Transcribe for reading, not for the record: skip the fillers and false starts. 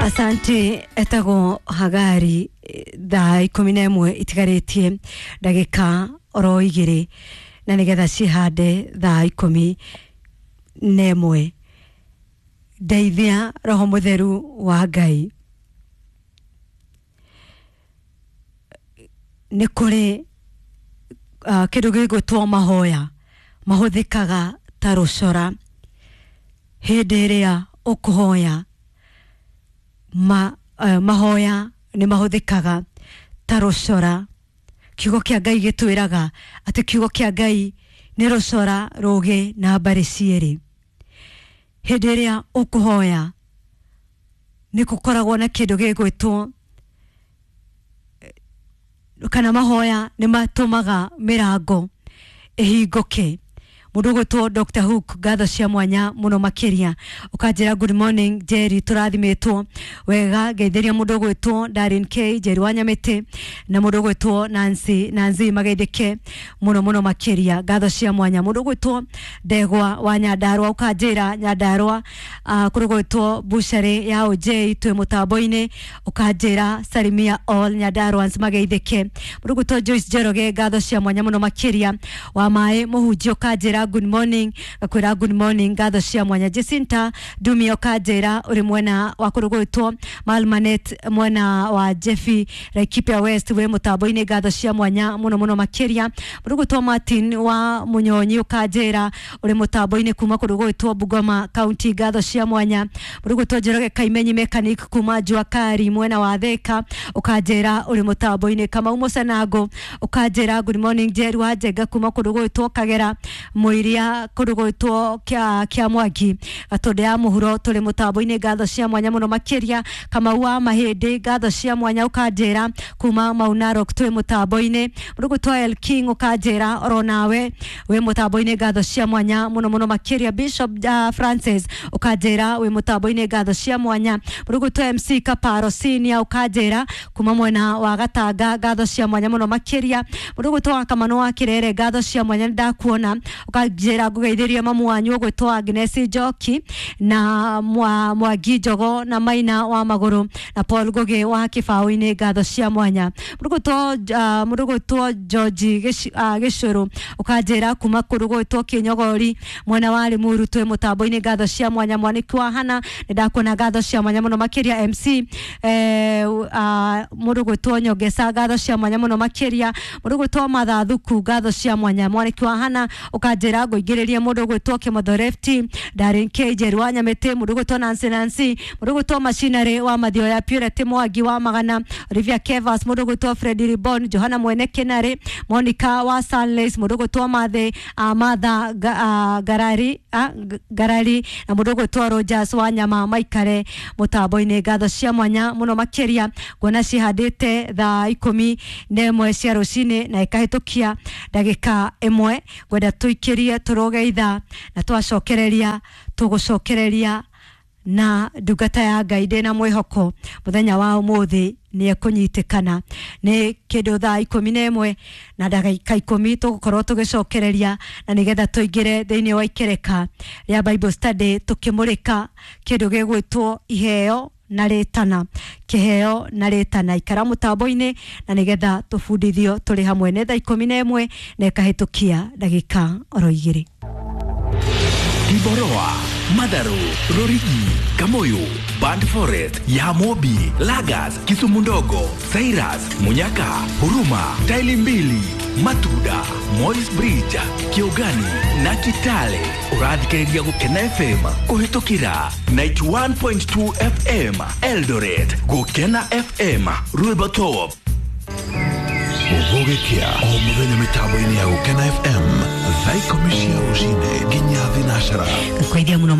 Asante. Etagwo Hagari. Thaa 11 itigarĩtie ndagĩka oro 2 na nĩgetha cihande thaa 11. Ndeithia roho mũtheru wa Ngai. Nĩ kũrĩ kĩndũ gĩgwĩtwo mahoya mahũthĩkaga ta rũcora hĩndĩ ĩrĩa ũkũhoya. Mahoya nĩ mahũthĩkaga ta rũcora. Kiugo kĩa Ngai gĩtwĩraga atĩ kiugo kĩa Ngai nĩ rũcora rũgĩ na mbarĩ cierĩ. Hĩndĩ ĩrĩa ũkũhoya nĩ gũkoragwo na kĩndũ gĩgwĩtwo kana mahoya nĩ matũmaga mĩrango ĩhingũke. Mũndũ ũgwĩtwo Dr. Hook, ngatho cia mwanya mũno makĩria. Ũkanjĩra good morning Jerry, tũrathimĩtwo wega. Ngeithĩria mũndũ ũgwĩtwo Darin K, Jerry wa Nyamĩtĩ, na mũndũ ũgwĩtwo Nancy mageithĩke mũno mũno makĩria. Ngatho cia mwanya. Mũndũ ũgwĩtwo Ndegwa wa Nyandarua, ũkanjĩra Nyandarua kũrĩ gwĩtwo bucharĩ ya OJ twĩ mũtambo-inĩ, ũkanjĩra salimia all Nyandaruans mageithĩke. Mũndũ ũgwĩtwo Joyce Njoroge, ngatho cia mwanya mũno makĩria. Wa maĩ mũhunjia, ũkanjĩra good morning, ngakwĩra good morning, ngatho cia mwanya. Jacinta Ndumia, ũkanjĩra ũrĩ mwena wa kũrĩ gwĩtwo Malmanet, mwena wa Jeffy Laikipia West, wĩ mũtambo-inĩ, ngatho cia mwanya mũno mũno makĩria. Mũndũ ũgwĩtwo Martin wa Munyonyi, ũkanjĩra ũrĩ mũtambo-inĩ kuma kũndũ gwĩtwo Bungoma County, ngatho cia mwanya. Mũndũ ũgwĩtwo Njoroge Kaimenyi mechanic kuma Jua Kali mwena wa Thika, ũkanjĩra ũrĩ mũtambo-inĩ. Kamau Mũcanango, ũkanjĩra good morning Jerry wa Njenga kuma kũndũ gwĩtwo Kagera Mũiria, kũndũ gwĩtwo kĩa Mwangi Gatũndũ ya mũhuro, tũrĩ mũtambo-inĩ, ngatho cia mwanya mũno makĩria. Kamau wa Mahĩndĩ, ngatho cia mwanya, ũkanjĩra kuma Mau Narok twĩ mũtambo-inĩ. Mũndũ ũgwĩtwo El King, ũkanjĩra oro nawe wĩ mũtambo-inĩ, ngatho cia mwanya mũno mũno makĩria. Bishop Francis, ũkanjĩra wĩ mũtambo-inĩ, ngatho cia mwanya. Mũndũ ũgwĩtwo MC Kaparo Senior, ũkanjĩra kuma mwena wa Gatanga, ngatho cia mwanya mũno makĩria. Mũndũ ũgwĩtwo wa Kamano wa Kirere, ngatho cia mwanya, nĩ ndakuona. Ũkanjĩra ngũgeithĩrie mamu wanyu ũgwĩtwo Agnes Njoki na Mwangi Njogo na Maina wa Magũrũ na Paul Ngugi wa Kĩbaũ-inĩ, ngatho cia mwanya. Mũndũ ũgwĩtwo George Gĩcũrũ, ũkanjĩra kuma kũndũ gwĩtwo Kĩnyogori mwena wa Limuru, twĩ mũtambo-inĩ, ngatho cia mwanya. Mwaniki wa Hana, nĩ ndakuona, ngatho cia mwanya mũno makĩria. MC mũndũ ũgwĩtwo Nyongesa, ngatho cia mwanya mũno makĩria. Mũndũ ũgwĩtwo Mathathuku, ngatho cia mwanya. Mwaniki wa Hana, ũkanjĩra ngũingĩrĩrie mũndũ ũgwĩtwo Kĩmotho Lefty, Darin K, Jerry wa Nyamĩtĩ, mũndũ ũgwĩtwo Nancy Nancy, mũndũ ũgwĩtwo Machinery wa Mathioya, Purity Mwangi wa Magana, Olivia Kevas, mũndũ ũgwĩtwo Freddy Ribon, Johana Mwene Kenari, Monica wa Sunlace, mũndũ ũgwĩtwo Mathe Martha Garari Garari na mũndũ ũgwĩtwo Rogers wa Nyama maikare mũtambo-inĩ, ngatho cia mwanya mũno makĩria. Nguona cihandĩte thaa 11 cia rũcinĩ na ĩkahĩtũkia ndagĩka 1. Ngwenda tũikĩrie tũroge ithaa na twacokereria tũgũcokereria na ndungata ya Ngai. Ndĩna mwĩhoko mũthenya wa ũmũthĩ nĩ ekũnyitĩkana nĩ kĩndũ thaa 11 na ndagĩka 10 tũgũkorwo tũgĩcokereria na nĩgetha tũingĩre thĩinĩ wa ikereka rĩa Bible study tũkĩmũrĩka kĩndũ gĩgwĩtwo iheo na rĩtana, kĩheo na rĩtana. Ikara mũtambo-inĩ na nĩgetha tũbundithio tũrĩ hamwe. Nĩ thaa 11 na ĩkahĩtũkia ndagĩka oro 2. Kiboroa, Madharu, Rorigi, Kamoyo, Band Forest, Yamobi, Lagas, Kisumu Ndogo, Cyrus, Munyaka, Huruma, Taili Mbili, Matuda, Moi's Bridge, Kiogani na Kitale. Ũrathikĩrĩria Gũkena FM kũhĩtũkĩra 91.2 FM Eldoret, Gũkena FM Rwĩmbo Top. Gũgĩkĩa o mũthenya mĩtambo-inĩ ya Gũkena FM thaa 10 cia rũcinĩ nginya 12. Ngũkũithia mũno.